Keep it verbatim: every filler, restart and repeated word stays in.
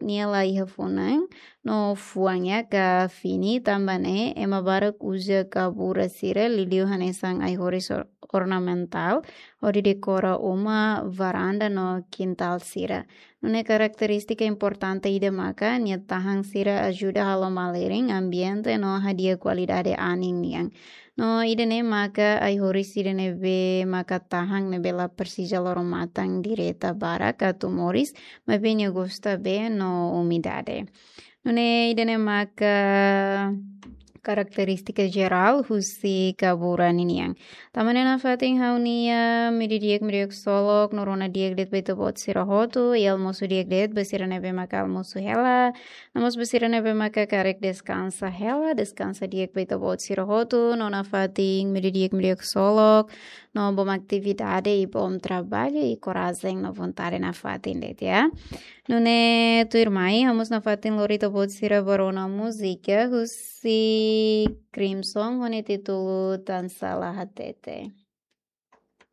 nia la iha funan no fuan, ya ka fini, tanba ne'e ema barak uza kabura sira liuliu hanesan ai-horis or-, ornamentál hodi dekora uma, varanda no kintál sira. Nune'e karakterístika importante ida maka nia tahan sira ajuda halo malirin ambiente no hadi'a kualidade anin nian. No ida-ne'e maka ai-horis ida ne'ebé maka tahan, ne'ebé la presiza loron-matan direta barak atu moris, maibé nia gosta bee no umidade. Nune'e ida-ne'e maka karakterístika jerál husi kabura ninian. Tanba ne'e nafatin ha'u-nia imi di'ak, imi di'ak ksolok, noronha di'ak de'it ba ita-boot sira hotu, i almosu di'ak de'it ba sira ne'ebé maka almosu hela, no mós ba sira ne'ebé maka karik deskansa hela, deskansa di'ak ba ita-boot sira hotu, no nafatin imi di'ak, imi di'ak ksolok, no bom atividade i bom traballu i korajen no vontade nafatin de'it, ya. Nune'e tuirmai, ha'u mós nafatin lori ita-boot sira ba rona múzika husi Crimson ho nia títulu Tan Sala Hatete.